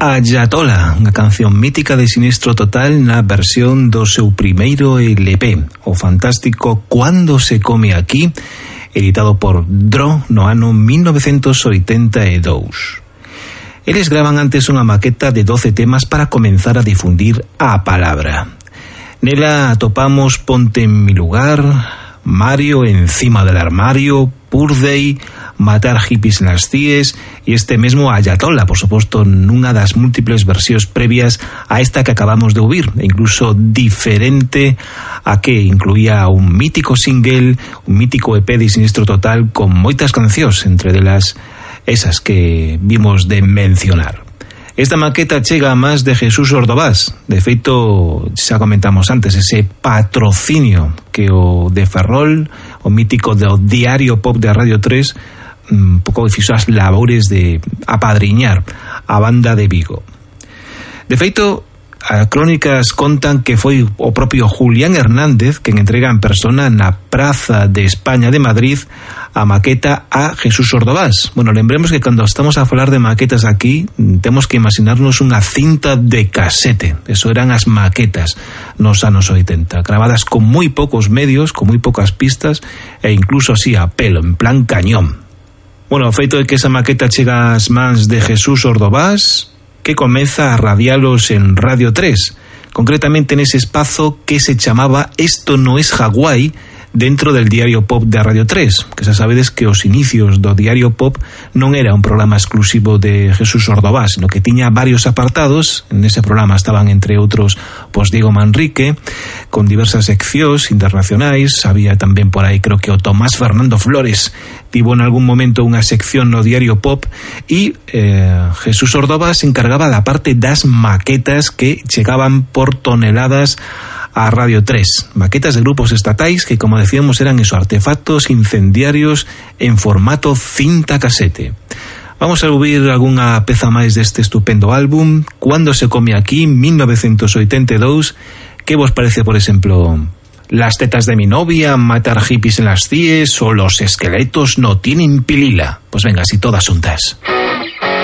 Ayatola, unha canción mítica de Sinistro Total na versión do seu primeiro LP, o fantástico Cuando se come aquí, editado por Dro no ano 1982. Eles graban antes unha maqueta de 12 temas para comenzar a difundir a palabra. Nela atopamos Ponte en mi lugar, Mario encima del armario, Purday, Matar hippies en las CIEs e este mesmo Ayatola, por suposto, nunha das múltiples versións previas a esta que acabamos de ouvir, e incluso diferente a que incluía un mítico single, un mítico EP de Sinistro Total con moitas cancións, entre delas esas que vimos de mencionar. Esta maqueta chega a más de Jesús Ordovás. De feito, xa comentamos antes, ese patrocinio que o de Ferrol, o mítico do Diario Pop de Radio 3, un pouco fixo as labores de apadriñar a banda de Vigo. De feito, as crónicas contan que foi o propio Julián Hernández quen entrega en persona na Praza de España de Madrid a maqueta a Jesús Ordovás. Bueno, lembremos que cando estamos a falar de maquetas aquí, temos que imaginarnos unha cinta de casete. Eso eran as maquetas nos anos 80, gravadas con moi poucos medios, con moi poucas pistas e incluso así a pelo, en plan cañón. Bueno, o feito de que esa maqueta chega ás mans de Jesús Ordovás, que comeza a radialos en Radio 3, concretamente nese espazo que se chamaba Esto no es Hawái, dentro del Diario Pop de Radio 3, que xa sabedes que os inicios do Diario Pop non era un programa exclusivo de Jesús Ordovás, sino que tiña varios apartados. En ese programa estaban, entre outros, pues Diego Manrique, con diversas seccións internacionais. Había tamén por aí, creo que o Tomás Fernando Flores tivo en algún momento unha sección no Diario Pop, e Jesús Ordovás se encargaba da parte das maquetas que chegaban por toneladas a Radio 3, maquetas de grupos estatais que, como decíamos, eran esos artefactos incendiarios en formato cinta casete. Vamos a ouvir algunha peza máis deste estupendo álbum, Cuando se come aquí, 1982. Que vos parece, por exemplo, Las tetas de mi novia, Matar hippies en las CIEs o Los esqueletos no tienen pilila? Pues venga, así todas juntas.